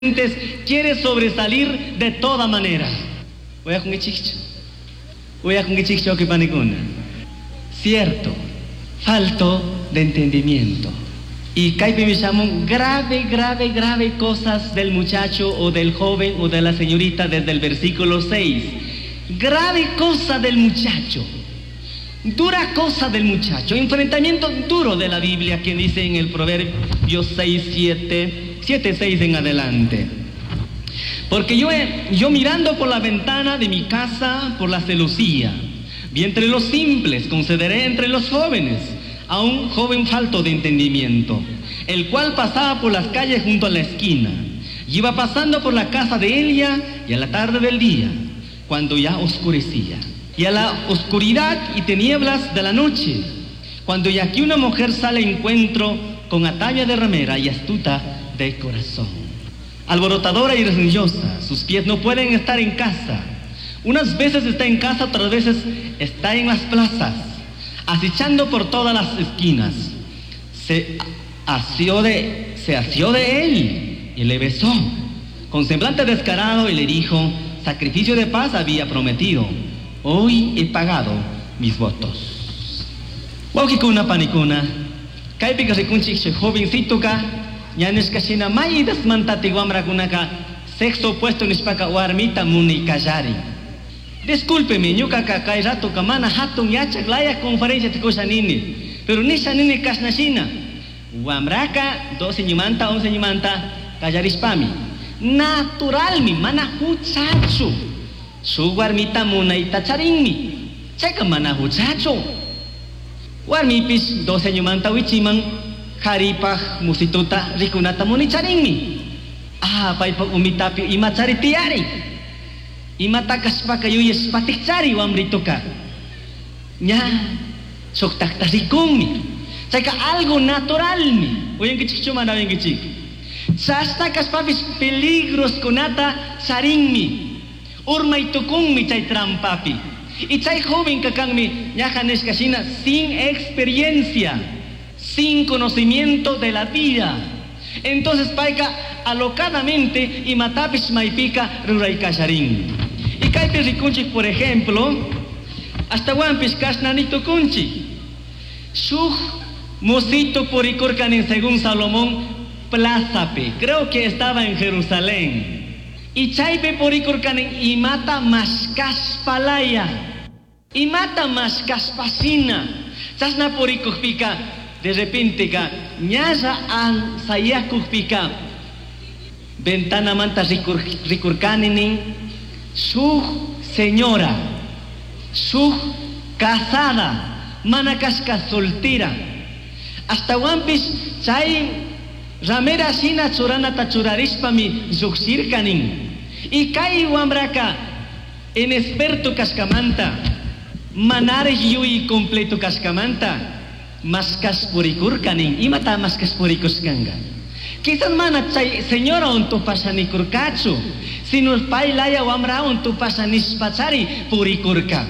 Quiere sobresalir de toda manera. Uyacunguichikchu. Uyacunguichikchu panikuna. Cierto, falto de entendimiento. Y kaypi shamun grave, grave, grave cosas del muchacho o del joven o de la señorita desde el versículo 6. Grave cosa del muchacho. Dura cosa del muchacho. Enfrentamiento duro de la Biblia que dice en el Proverbio 6, 7, 7, 6 en adelante. Porque yo mirando por la ventana de mi casa, por la celosía, vi entre los simples, concederé entre los jóvenes, a un joven falto de entendimiento, el cual pasaba por las calles junto a la esquina, y iba pasando por la casa de ella, y a la tarde del día, cuando ya oscurecía, y a la oscuridad y tinieblas de la noche, cuando ya aquí una mujer sale a encuentro con atavia de ramera y astuta de corazón, alborotadora y religiosa, sus pies no pueden estar en casa. Unas veces está en casa, otras veces está en las plazas, acechando por todas las esquinas. Se asió de él y le besó, con semblante descarado, y le dijo: sacrificio de paz había prometido, hoy he pagado mis votos. Wawqikuna panikuna, kaypika rikunchik jovencitoka, ña nishka shina maytasmantati wamrakunaka sexo opuesto nishpaka warmita munikallari. Discúlpeme, ñukaka kay ratoka mana hatun yachak laya conferencia tikusha nini, pero nisha nini kashna shina. Wamraka 12 ñumanta, 11 ñumanta kallarishpami. Naturalmi, mana huchachu. Shuk warmita munayta charinmi. Chayka mana huchachu. Warmipish 12 ñumanta wichiman karipaj musituta rikunata municharinmi. Ah, paypak umitapi ima chari tiyari. Imata kashpaka yuyashpatik chari wamrituka. Ña, shuktakta rikunmi. Chayka algo naturalmi. Uyankichikchu mana uyankichik. Chashna kashpapish peligros kunata charinmi. Urmay tukunmi chay trampapi. Y chay joven kakanmi ñaja nishka shina sin experiencia, sin conocimiento de la vida. Entonces payka alocadamente imatapish maypika ruraykasharin. Y kaypi rikunchik, por ejemplo, ashtawanpish kashnani tukunchik. Shuk musito purikurkanin según Salomón plazapi. Creo que estaba en Jerusalén. Y chaypi purikurkanin imata mashkashpalaya. Imata mashkashpashina. Chashna purikukpika, de repente ka ñalla ansayakukpika, ventana manta rikurkaninin, shuk señora, shuk casada, mana kashka soltera. Ashtawanpish chay ramera shina churanata churarishpami llukshirkanin. Y kay wambraka inexperto kashkamanta, manarij yuyi completo kashkamanta, mashkash purikurkanin. Imata mashkash purikushkanga? Quizás mana chay señora untupashanikurkachu, sino paylaya wamra untupashanishpachari purikurka.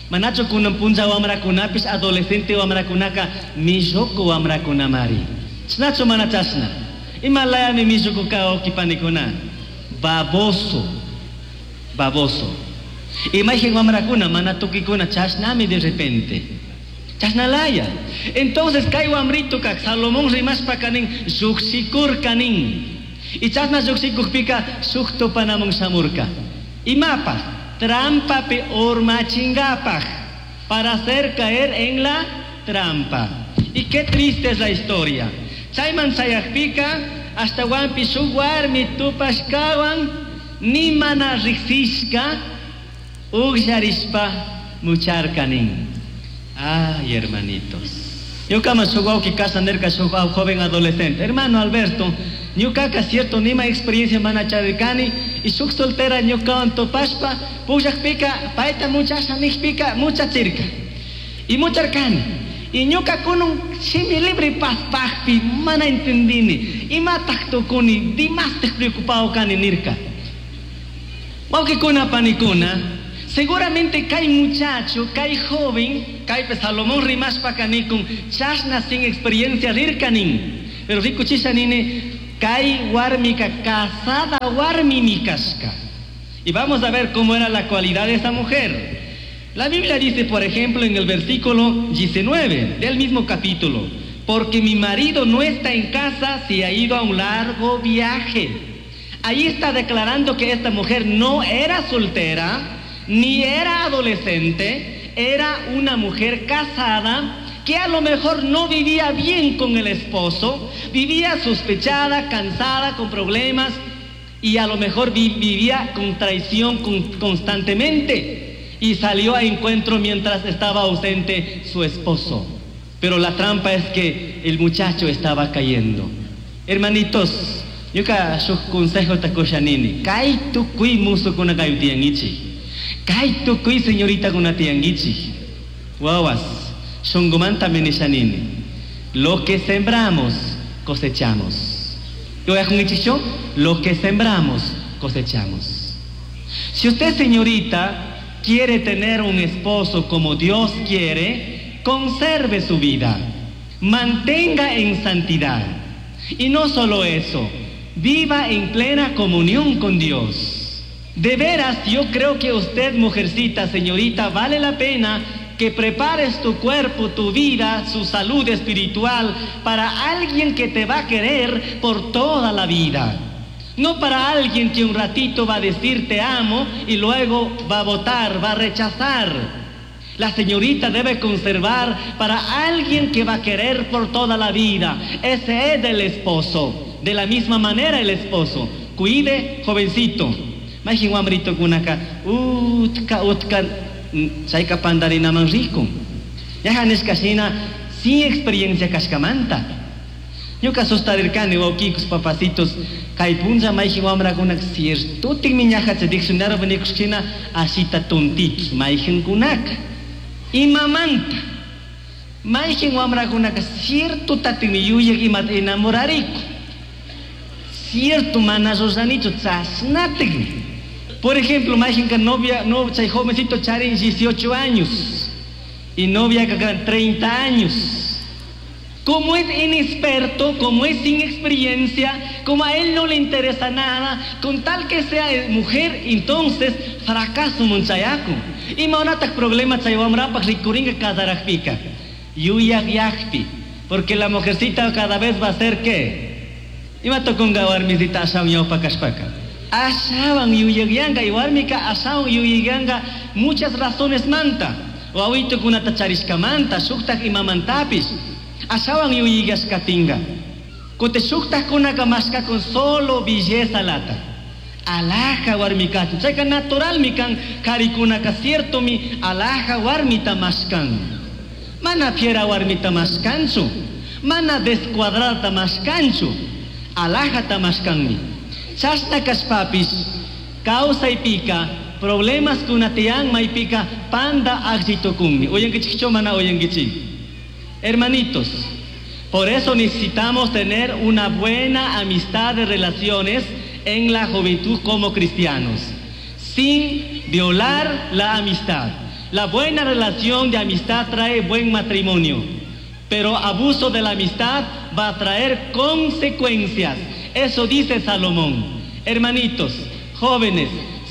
Manachu kunan punlla wamrakunapish adolescente wamrakunaka milluku wamrakunamari. Chnachu mana chashna. Imalayami milluku ka wawqipanikuna. Baboso. Baboso. Imayjan wamrakuna mana tukikuna chashnami de repente. Chashnalaya. Entonces kay wamrito kak Salomón rimashpaka nin llukshikurka nin. Y chashna llukshikukpika shuk tupanamun shamurka. Imapaj trampapi urmachingapaj, para hacer caer en la trampa. Y qué triste es la historia. Chayman chayakpika hasta wampi shuk warmi tupashkawan ni mana riksishka ugllarishpa mucharkanin. Ay, hermanitos. Ñukama shuk wawqi kasha nirka shuk joven adolescente. Hermano Alberto, ñukaka cierto nima experiencia mana charirkani y shuk soltera ñukawan tupashpa pukllakpika payta muchasha nijpika muchachirka. Y mucharkani. Y ñuka kunun shimi libre paspajpi mana entendini. Imataj tukuni dimastaj preocupado kani nirka. Wawqikuna panikuna, seguramente kay muchacho, kay joven, kay Salomón rimashpa kanikun, chashna sin experiencia rirkanin. Pero rikuchisha nini, Kay warmika casada warmimi kashka. Y vamos a ver cómo era la cualidad de esa mujer. La Biblia dice, por ejemplo, en el versículo 19 del mismo capítulo: porque mi marido no está en casa, se ha ido a un largo viaje. Ahí está declarando que esta mujer no era soltera, ni era adolescente, era una mujer casada que a lo mejor no vivía bien con el esposo, vivía sospechada, cansada, con problemas, y a lo mejor vivía con traición constantemente, y salió a encuentro mientras estaba ausente su esposo. Pero la trampa es que el muchacho estaba cayendo. Hermanitos, ñuka shuk consejo ta kushanini. Kay tukuy musukuna kay tiyangichik. Kay tukuy señorita kuna tiyangichik. Wawas, shungumanta minishanini. Lo que sembramos, cosechamos. Yo? Lo que sembramos, cosechamos. Si usted, señorita, quiere tener un esposo como Dios quiere, conserve su vida, mantenga en santidad. Y no solo eso, viva en plena comunión con Dios. De veras, yo creo que usted, mujercita, señorita, vale la pena que prepares tu cuerpo, tu vida, su salud espiritual para alguien que te va a querer por toda la vida. No para alguien que un ratito va a decir te amo y luego va a votar, va a rechazar. La señorita debe conservar para alguien que va a querer por toda la vida. Ese es el esposo. De la misma manera el esposo. Cuide, jovencito. Majin wamrito kunaka, utka, utka, chayka pandarinaman rico. Ya nishkashina sin experiencia kashkamanta. Ñuka sustarirkani wawkikus papacitos, kay punlla mayjin wamrakunak ciertotikmi ñaja chay diccionario nikushkina ashita tontitos mayjinkunaka. Imamanta mayjin wamrakunaka cierto tatikmi yuyak imata enamorariku. Cierto mana ruranichu chashnatikmi. Por ejemplo, mayjinka novia, no, chay jovencito charin 18 años y novia ka 30 años. Como es inexperto, como es sin experiencia, como a él no le interesa nada, con tal que sea mujer, entonces fracaso munchayaku. Imahunataj problema chay wamrapak rikuringa kasarajpika. Yuyak yakpi, porque la mujercita cada vez va a ser ¿qué? Ima tokunga warmisita ashawan ñawpa kashpaka. Ashawan yuyakyanga y warmika ashawan yuyakyanga muchas razones manta. Wawitukunata charishkamanta, shuktaj imamantapish. Ashawan yuyigashkatinga. Kote shuktajkunaka mashkakun solo belleza lata. Alaja warmikachu. Chayka naturalmi kan karikunaka ciertomi alaja warmita mashkan. Mana fiera warmita mashkanchu. Mana descuadrada mashkanchu. Alajata mashkanmi. Chashna kashpapish kawsaypika problemas kunatiyan maypika panda akllitukunmi. Uyankichikchu mana uyankichik. Hermanitos, por eso necesitamos tener una buena amistad de relaciones en la juventud como cristianos, sin violar la amistad. La buena relación de amistad trae buen matrimonio, pero abuso de la amistad va a traer consecuencias. Eso dice Salomón. Hermanitos, jóvenes,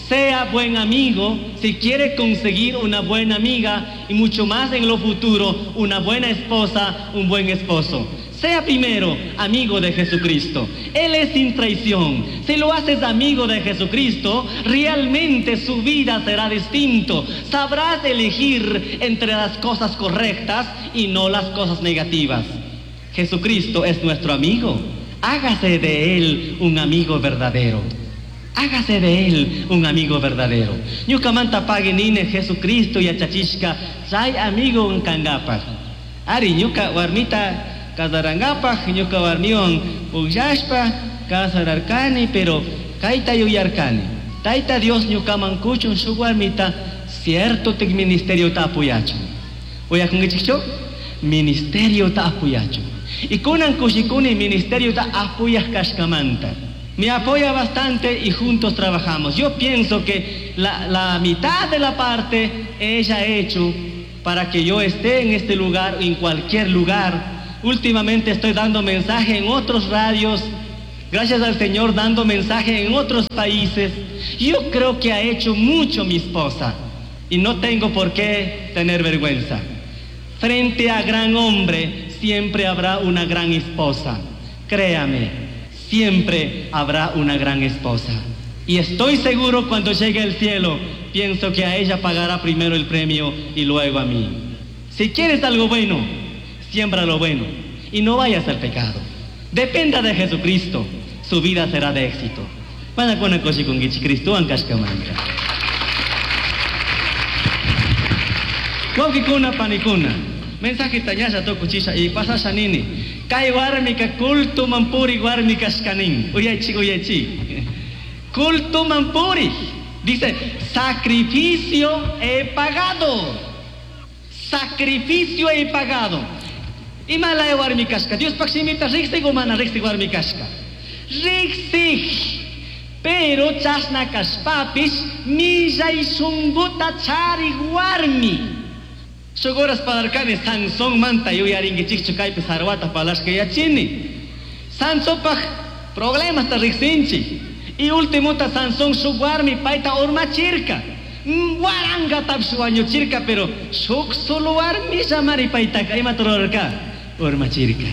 sea buen amigo si quiere conseguir una buena amiga y mucho más en lo futuro, una buena esposa, un buen esposo. Sea primero amigo de Jesucristo. Él es sin traición. Si lo haces amigo de Jesucristo, realmente su vida será distinto. Sabrás elegir entre las cosas correctas y no las cosas negativas. Jesucristo es nuestro amigo. Hágase de Él un amigo verdadero. Hágase de Él un amigo verdadero. Ñukamanta pague nine Jesucristo yachachishka chay amigo nkangapaj. Ari ñuka warmita kasarangapaj, ñuka warmiwan pukllashpa kasararkani, pero kayta yuyarkani. Tayta Dios ñukaman kuchun shuk warmita cierto tik ministerio ta apoyachun. Uyakunkichikchu? Ministerio ta apoyachun. Y kunan kushikuni ministerio ta apoyaj kashkamanta. Me apoya bastante y juntos trabajamos. Yo pienso que la mitad de la parte ella ha hecho para que yo esté en este lugar o en cualquier lugar. Últimamente estoy dando mensaje en otros radios. Gracias al Señor dando mensaje en otros países. Yo creo que ha hecho mucho mi esposa y no tengo por qué tener vergüenza. Frente a gran hombre siempre habrá una gran esposa. Créame, siempre habrá una gran esposa. Y estoy seguro cuando llegue al cielo, pienso que a ella pagará primero el premio y luego a mí. Si quieres algo bueno, siembra lo bueno y no vayas al pecado. Dependa de Jesucristo, su vida será de éxito. Mana kushikunguichik Cristowan kashkamanta. Wawqikuna panikuna, mensajeta ñalla tukuchisha y pasasha nini. Kay warmika cultoman puri warmi kashkanin. Uyaychik, uyaychik. Cultoman puri. Dice, sacrificio he pagado. Sacrificio he pagado. Ima laya warmi kashka. Diospaj shimita riksik o mana riksik warmi kashka. Riksik. Pero chashna kashpapish millay shunguta charik warmi. Shuk horas parlarkani Sansón manta yuyarinkichikchu kaypi sarwata parlashka yachini. Sansonpaj problemasta riksinchik. Y ultimota Sansón shuk warmi payta urmachirka. Warangatapish wañuchirka, pero shuk solo warmilla mari paytaka imata rurarka? Urmachirka.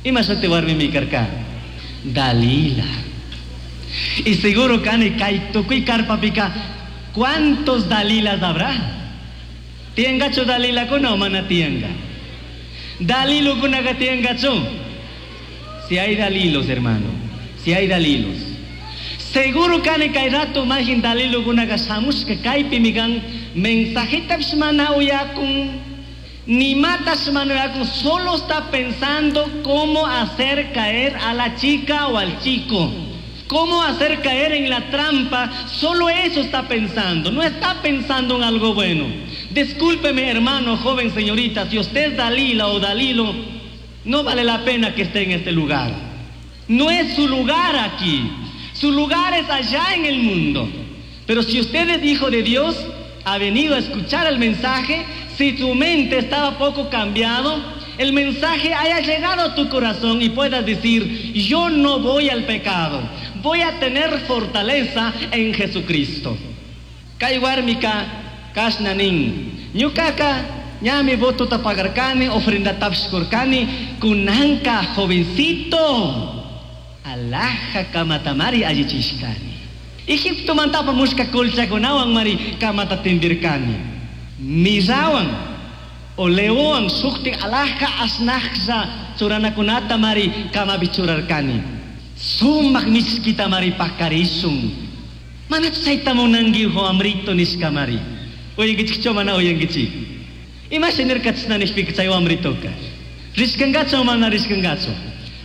Ima shuti warmimi karka? Dalila. Y seguro kani kay tukuy karpapika, ¿cuántos Dalilas habrá? Tiyangachu Dalilakuna o mana tiyanga? Dalilukunaka tiyangachu? Si hay Dalilos, hermano, si hay Dalilos. Seguro kani kay rato majin Dalilukunaka shamushka kaypimi kan mensajetapish mana uyakun, ni matash mana uyakun, solo está pensando cómo hacer caer a la chica o al chico. Cómo hacer caer en la trampa, solo eso está pensando, no está pensando en algo bueno. Discúlpeme, hermano, joven, señorita, si usted es Dalila o Dalilo, no vale la pena que esté en este lugar. No es su lugar aquí, su lugar es allá en el mundo. Pero si usted es hijo de Dios, ha venido a escuchar el mensaje, si tu mente estaba poco cambiado, el mensaje haya llegado a tu corazón y puedas decir, yo no voy al pecado, voy a tener fortaleza en Jesucristo. Kay warmika kashna nin, ñukaka ñami votota pagarkani, ofrendatapish kurkani, kunanka jovencito, alhaja kamatamari allichishkani. Egiptomanta apamushka colchakunawan mari kamata tindirkani. Mirrawan oleowan shuktik alhaja ashnajlla churanakunata mari kamapi churarkani. Sumak mishkita mari pakarishun. Manachu chayta munanki wamrito nishka mari. Uyankichikchu mana uyankichik? Imashi nirka chashna nishpika chay wamritoka? Rishkangachu o mana rishkangachu?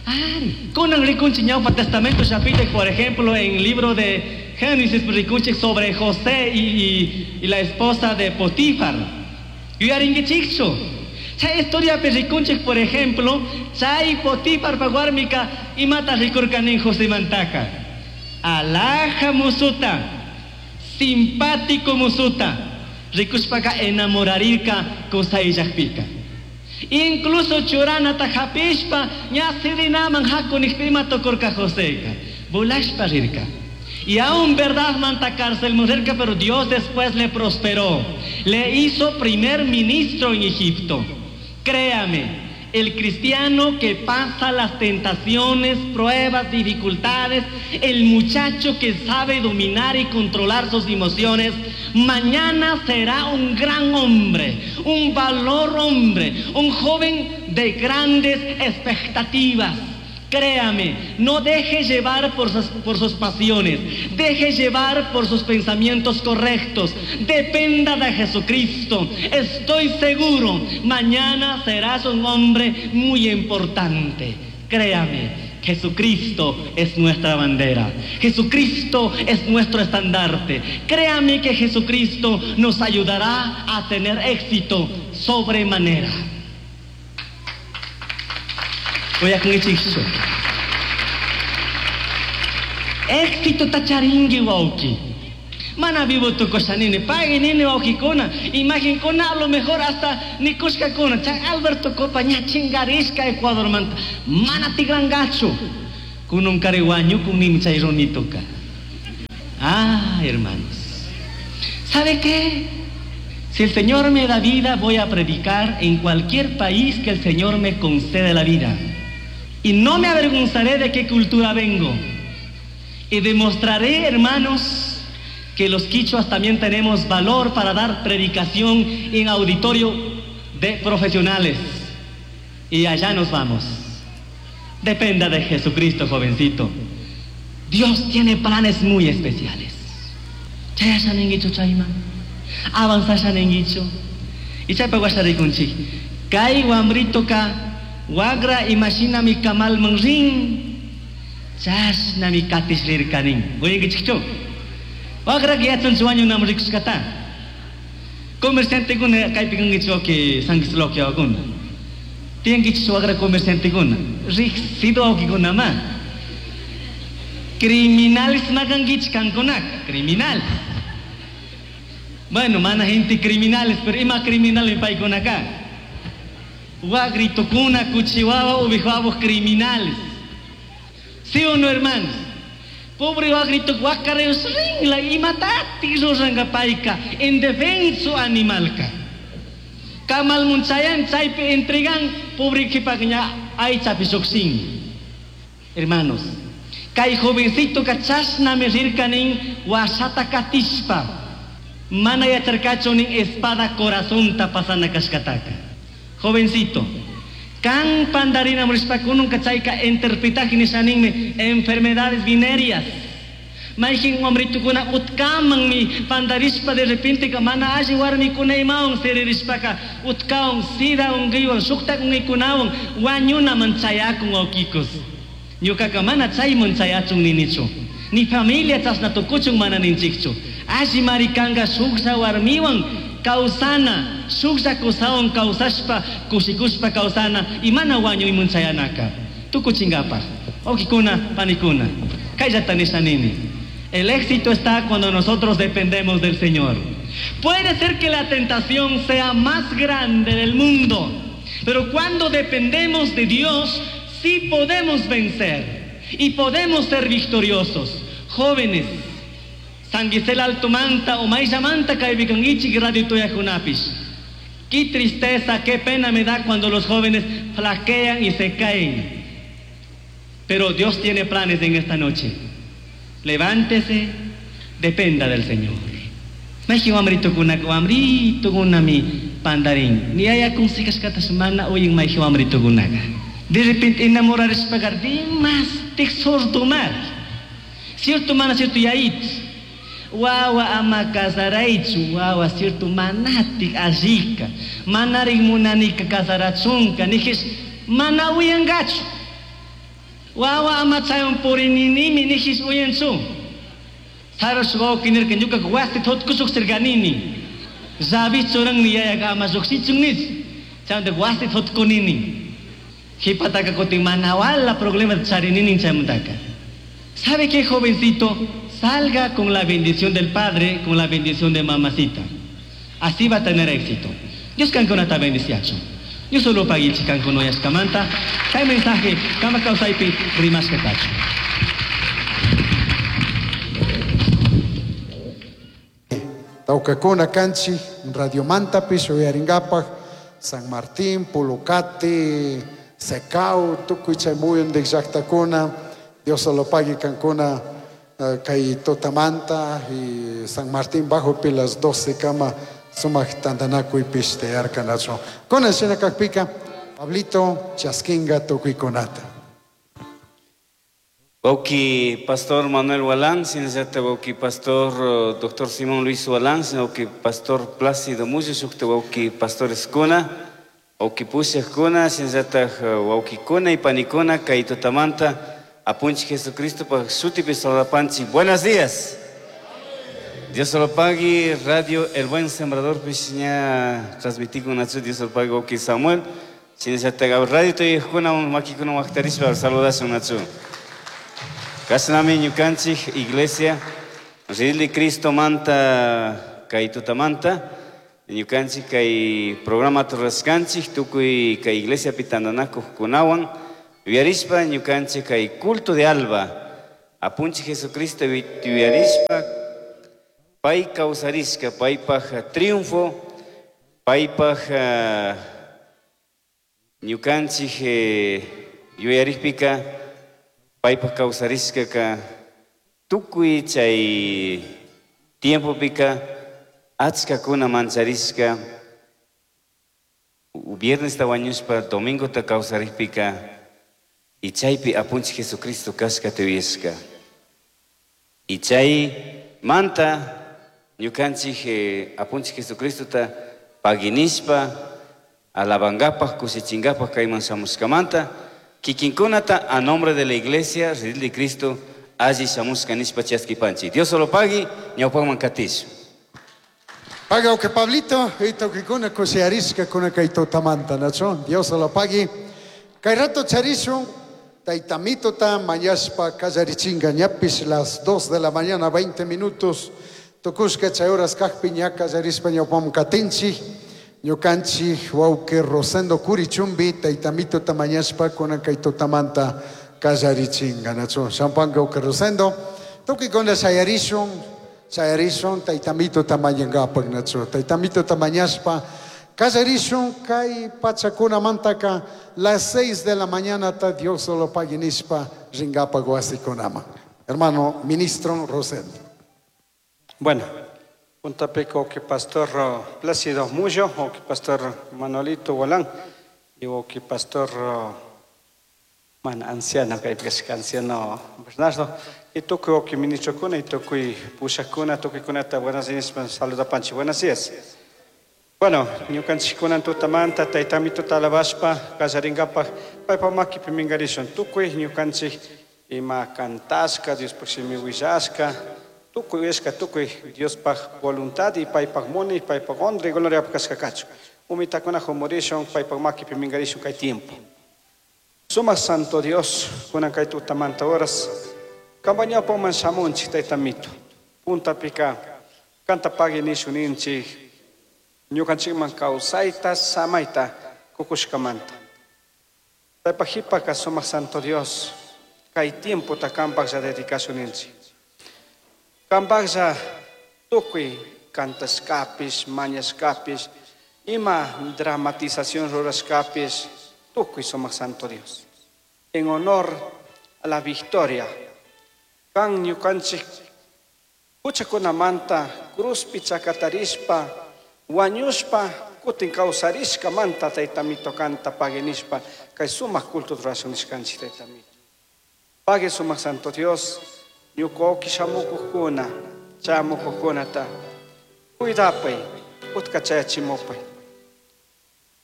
Ari. Kunan rikunchik ñawpa Testamento llapita, por ejemplo, en el libro de Génesis rikunchik sobre José y la esposa de Potifar. Yuyarinkichikchu? Chay historiapi rikunchik, por ejemplo, chay Potifar pa warmika imata rikurkanin Josemantaka. Alhaja musuta, simpático musuta, rikushpaka enamorarirka kusayllakpika. Incluso churanata hapishpa ña sirinaman haku nijpi ima tukurka Joseka, volashpa rirka. Y aún verdad manta cárcel mujerka, pero Dios después le prosperó. Le hizo primer ministro en Egipto. Créame, el cristiano que pasa las tentaciones, pruebas, dificultades, el muchacho que sabe dominar y controlar sus emociones, mañana será un gran hombre, un valor hombre, un joven de grandes expectativas. Créame, no deje llevar por sus pasiones, deje llevar por sus pensamientos correctos, dependa de Jesucristo. Estoy seguro, mañana serás un hombre muy importante. Créame, Jesucristo es nuestra bandera, Jesucristo es nuestro estandarte. Créame que Jesucristo nos ayudará a tener éxito sobremanera. Voy a con Éxito tacharingui wauki. Mana vivo tu cosa nini, pague nini wauki kona. Imagen kona a lo mejor hasta nikushka kona. Chay Alberto Copa ña chingarishka Ecuador manta. Mana tigrangacho. Kununkari wañukunimi chay runituka. Ah, hermanos. ¿Sabe qué? Si el Señor me da vida, voy a predicar en cualquier país que el Señor me conceda la vida. Y no me avergonzaré de qué cultura vengo. Y demostraré, hermanos, que los quichuas también tenemos valor para dar predicación en auditorio de profesionales. Y allá nos vamos. Dependa de Jesucristo, jovencito. Dios tiene planes muy especiales. Chayasha ninguichu chayman. Avanzasha ninguichu. Y chaypa washariykunchik. Kay wambritoka wagra imashinami kamalman rin. Chashnami katish rirkanin. Uyankichikchu. Wagra yachanchu wañunaman rikushkata. Comerciantekuna kaypi kankichik wawki San Gisloki wawakuna. Tiyankichik wagra comerciantekuna. Riqsido wawkikunama. Criminales makankichik kankunaka. Criminales. Bueno, mana gente criminales, pero ima criminal paykunaka. Wagritukuna, kuchiwawa, ubijuabos criminales. ¿Sí o no, hermanos? Pobre wagrito wakareos ringla imatati ruranka payka en defenso animalka. Kamal munchayan chaypi entregan pobre kipakña aychapi lluqshin. Hermanos, kay jovencito chashnami rirkanin washata katishpa. Mana yacharkachu nin espada corazonta pasana kashkataka. Jovencito, kan pandarina murishpakununka chayka interpretaje nishaninmi enfermedades venéreas. Mayjin wamritukuna utkamanmi pandarishpa de repente ka mana alli warmikuna imawan siririshpaka utkawan sida unquywan shuktak unquykunawan wañunaman chayakun wawkikos. Ñukaka mana chayman chayachun ninichu. Ni familia chashna tukuchun mana ninchikchu. Alli marikanka shuklla warmiwan kawsana, shuklla kusawan kawsashpa, kushikushpa kawsana, y mana wañuyman chayanaka. Tukuchinkapaj. Wawkikuna, panikuna. Kayllata nisha nini. El éxito está cuando nosotros dependemos del Señor. Puede ser que la tentación sea más grande del mundo, pero cuando dependemos de Dios, sí podemos vencer y podemos ser victoriosos. Jóvenes, San Gisela Altomanta o Maisha Manta kaypikankichik radio tuyakunapish. Qué tristeza, qué pena me da cuando los jóvenes flaquean y se caen. Pero Dios tiene planes en esta noche. Levántese, dependa del Señor. Mayjin wamritukuna wamritukunami pandarin. Ni haya kashkatash mana uyan mayjin wamritukunaka. De repente enamorarishpaqa dimashtik sordomar. Cierto mana cierto yayit. Wawa ama casaraychu, wawa cierto manatik allika. Manarik munanika casarachunka, nijish mana uyangachu. Wawa ama chaywan purininimi nijish uyanchu. Sarush wawqi nirka ñuka wasi thutkushuk sirkanini. Llavi churanni yayaka ama lluqshichun nish. Chaymanta wasi thutkunini. Qhipataka kutin mana wala problema charinini chaymantaka. ¿Sabe qué, jovencito? Salga con la bendición del padre, con la bendición de mamacita. Así va a tener éxito. Dios kankunata bendiciachun. Dios solo paguichi kankuna uyashkamanta. Kay mensaje kama kawsaypi rimashka kachun. Tawkakuna kanchik radiomantapish uyarinkapak San Martín, Pulucati, Secau, tukuy chay muyundik llaqtakuna. Dios solo pague kankuna kay tutamanta y San Martín Bajopi las 12 kama sumak tantanakuypish tiyarkanachu. Kunan shina kakpika Pablito chaskinga tukuykunata. Wawki Pastor Manuel Walán, shinallata wawki Pastor Doctor Simón Luis Walán, wawki Pastor Plácido Mullo, shukta wawki Pastores kuna, wawki pushakuna, shinallata wawkikuna y panikuna, kay tutamanta Apunchik Jesucristo pa shutipi saludapanchik. Buenos días. Dios lo pague, Radio El Buen Sembrador, pish ña transmitikun nachu, Dios lo pague, wawki Samuel. Shinallata radio tuyajkuna, makikuna waqtarishpa saludashun nachu. Kashnami ñukanchik iglesia, Ridley Cristo manta kay tutamanta, ñukanchik kay programa turrashkanchik, tukuy kay iglesia pitandanakuqkunawan, Yuyarishpa ñukanchik kay culto de alba apunchik Jesucristo yuyarishpa pay kawsarishka paypaj triunfo paypaj ñukanchik yuyarikpika paypaj kawsarishkaka tukuy chay tiempopika achkakuna mancharishka viernesta wañushpa domingota kawsarikpika y chaypi apunchik Jesucristo kashkata yuyashka. Y chay manta ñukanchik apunchik Jesucristota paginishpa alabankapaj kushichinkapaj kayman shamushkamanta kikinkunata a nombre de la iglesia Redil de Cristo alli shamushka nishpa chaskipanchik. Dios solo pagui ñawpakman katish. Paga que Pablito, ito kikuna kushiarishka kuna kay tutamanta, nacho. Dios solo pagui. Kay rato charishun, taytamitota mañashpa kallarichinga ñapis las 2 de la mañana 20 minutos. Tukushka chay horas kajpi ña kallarishpa ñawpam katinchik. Ñukanchik wawqi Rosendo Curichumbi taytamitota mañashpa kunan kay tutamanta kallarichinga, nacho. Shampanka wawqi Rosendo. Tukikuna shayarishun, shayarishun taytamitota mañankapak, nacho. Taytamitota mañashpa kallarishun kay pachakunamantaka las 6 de la mañana ta Dios solo pague nishpa rinkapak wasikunaman. Hermano ministro Rosendo. Bueno, puntapika que pastor Plácido Mullo, o que pastor Manuelito Gualán, y o que pastor man anciano, que anciano Bernardo, y tukuy que ministro kuna, y tukuy pushakuna, tukuy kunata, buenos días, saluda panchi, buenos días. Bueno, ñukanchikkunan tutamanta, taytamituta alabashpa, kallarinkapak, paypa makipi minkarishun, tukuy ñukanchik ima kantashka, Diospaj shimi willashka, tukuy uyashka, tukuy Diospaj voluntad y paypaj muni, paypaj honra y gloria kashka kachu. Umitakuna humurishun, paypaj makipi minkarishun kay tiempo. Sumak Santo Dios, kunan kay tutamanta horas, kampañapaman shamunchik taytamito, puntapika, kanta pagui nishun ninchik, ñukanchikman kawsayta, samayta, kukushkamanta. Taypajipaka sumak Santo Dios, kay tiempota kanpaklla dedicashun ninchik. Kanpaklla tukuy kantashkapish, mañashkapish, ima dramatización rurashkapish, tukuy sumak Santo Dios. En honor a la victoria, kan ñukanchik huchakunamanta cruzpi chakatarishpa, wañushpa, kutin kawsarishkamanta taytamito kanta pague nishpa, kay sumak culto rurashun nishkanchik taytamito. Pague sumak Santo Dios, ñuka shamukuqkuna, chamukuqkunata, cuidapay, utka chayachimupay.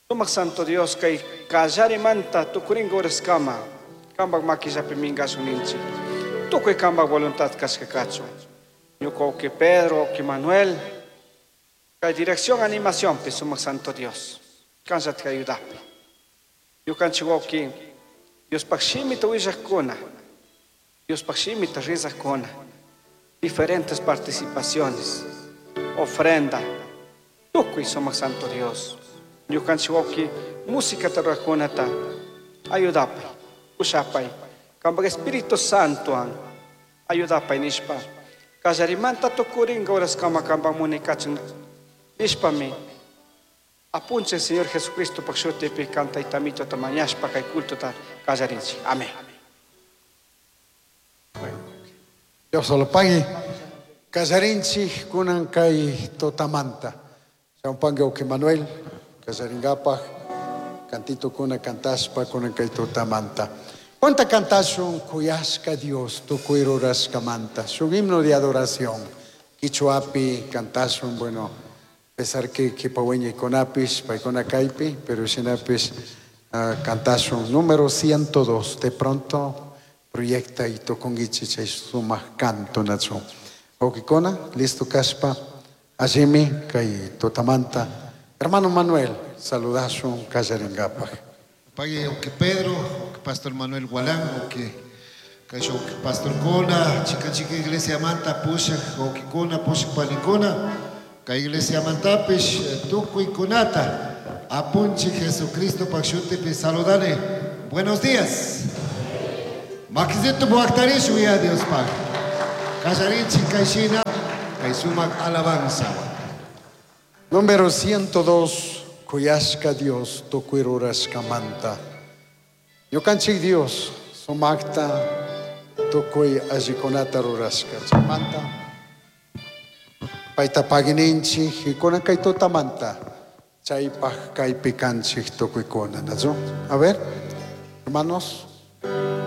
Sumak Santo Dios, kay kallarimanta tukurinka horaskama, kanpak makillapi minkashun ninchik. Tukuy kanpak voluntad kashka kachun. Ñuka wawqi Pedro, wawqi Manuel, kay dirección animación pi sumak Santo Dios. Kanllata ayudapi. Ñukanchik wawqi, Diospaj shimita willaqkuna, Diospaj shimita rizaqkuna, diferentes participaciones, ofrenda, tukuy sumak Santo Dios. Ñukanchik wawqi música ruraqkunata ayudapay, pushapay, kanpak Espíritu Santo ayudapay nishpa, kallarimanta tukurinka horaskama kanpak munay kachun nishpami, apunchik Señor Jesucristo pak shutipi kan taytamitota mañashpa kay cultota kallarinchik. Amén. Dios lo pague. Kallarinchik kunan kay tutamanta. Champangue wawqi Manuel, kallaringapaj, cantito kuna kantashpa kunan kay tutamanta. Punta kantashun kuyashka Dios tukuy rurashkamanta. Shuk himno de adoración. Quichuapi kantashun, bueno, pesar que kipaweñikunapish, paykuna kaypi, pero shinapish kantashun número 102. De pronto proyecta y tokungichi chay sumak canto nachu. Wawqikuna, listo kashpa, allimi kay tutamanta. Hermano Manuel, saludashun kallaringapaj. Pague wawqi Pedro, wawqi Pastor Manuel Gualán, wawqi kay wawqi Pastor Kuna, chica chica iglesia manta pushak wawqikuna, pushak panikuna, kay iglesia mantapish tukuy kunata, apunchik Jesucristo pak shutipi saludane. Buenos días. Makisito buaktarish uya Diospaj. Kallarinchik kayshina kay sumak alabanza. Número 102, Kuyashka Dios, tukuy rurashkamanta. Ñukanchik Dios, sumakta tukuy allikunata rurashka. Chaymanta payta pagininchik y kunan kay tutamanta chaypaj kaypi kanchik tukuykuna, ¿no? A ver, hermanos.